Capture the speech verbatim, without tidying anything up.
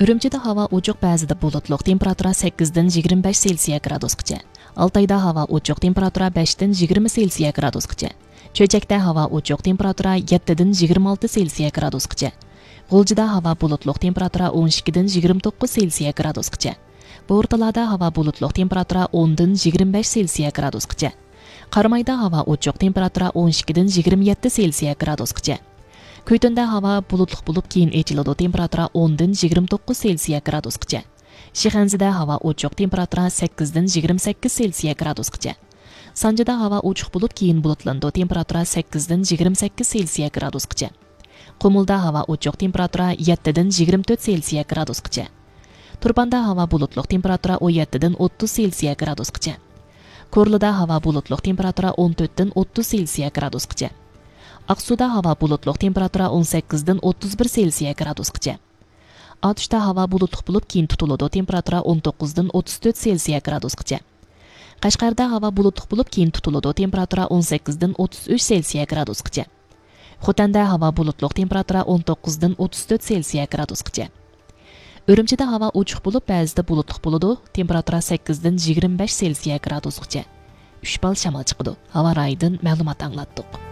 ئۈرۈمچىدە ھاۋا ئوچۇق، بەزىدە بۇلۇتلۇق، تېمپېراتۇرا سەككىزدىن يىگىرمە بەش سېلسىيە گرادۇسقىچە. ئالتايدا ھاۋا ئوچۇق، تېمپېراتۇرا بەشتىن يىگىرمە سېلسىيە گرادۇسقىچە. چۆچەكتە ھاۋا ئوچۇق، تېمپېراتۇرا يەتتىدىن يىگىرمە ئالتە سېلسىيە گرادۇسقىچە. غۇلجىدا ھاۋا بۇلۇتلۇق، تېمپېراتۇرا ئون ئىككىدىن يىگىرمە توققۇز سېلسىيە گرادۇسقىچە. بورتالادا ھاۋا بۇلۇتلۇق، تېمپېراتۇرا ئوندىن يىگىرمە بەش سېلسىيە گرادۇسقىچە. قارامايدا ھاۋا ئوچۇق، تېمپېراتۇرا ئون ئىككىدىن يىگىرمە يەتتە سېلسىيە گرادۇسقىچە. كۈيتۈندە ھاۋا بۇلۇتلۇق بولۇپ، كېيىن ئېچىلىدۇ، تېمپېراتۇرا ئوندىن يىگىرمە توققۇز سېلسىيە گرادۇسقىچە. شىخەنزىدە ھاۋا ئوچۇق، تېمپېراتۇرا سەككىزدىن يىگىرمە سەككىز سېلسىيە گرادۇسقىچە. سانجىدا ھاۋا ئوچۇق بولۇپ، كېيىن بۇلۇتلىنىدۇ، تېمپېراتۇرا سەككىزدىن يىگىرمە سەككىز سېلسىيە گرادۇسقىچە. قۇمۇلدا ھاۋا ئوچۇق، تېمپېراتۇرا يەتتىدىن يىگىرمە تۆت سېلسىيە گرادۇسقىچە. تۇرپاندا ھاۋا بۇلۇتلۇق، تېمپېراتۇرا ئون يەتتىدىن ئوتتۇز سېلسىيە گرادۇسقىچە. كورلىدا ھاۋا بۇلۇتلۇق، تېمپېراتۇرا ئون تۆتتىن ئوتتۇز سېلسىيە گرادۇسقىچە. ئاقسۇدا ھاۋا بۇلۇتلۇق، تېمپېراتۇرا ئون سەككىزدىن ئوتتۇز بىر سېلسىيە گرادۇسقىچە. ئاتۇشتا ھاۋا بۇلۇتلۇق بولۇپ، كېيىن تۇتۇلىدۇ، تېمپېراتۇرا ئون توققۇزدىن ئوتتۇز تۆت سېلسىيە گرادۇسقىچە. قەشقەردە ھاۋا بۇلۇتلۇق بولۇپ، كېيىن تۇتۇلىدۇ، تېمپېراتۇرا ئون سەككىزدىن ئوتتۇز ئۈچ سېلسىيە گرادۇسقىچە. خوتەندە ھاۋا بۇلۇتلۇق، تېمپېراتۇرا ئون توققۇزدىن ئوتتۇز تۆت سېلسىيە گرادۇسقىچە. ئۈرۈمچىدە ھاۋا ئوچۇق بولۇپ، بەزىدە بۇلۇتلۇق بولىدۇ، تېمپېراتۇرا سەككىزدىن يىگىرمە بەش سېلسىيە گرادۇسقىچە. ئۈچ بال شامال چىقىدۇ. ھاۋا رايىدىن مەلۇمات ئاڭلاتتۇق.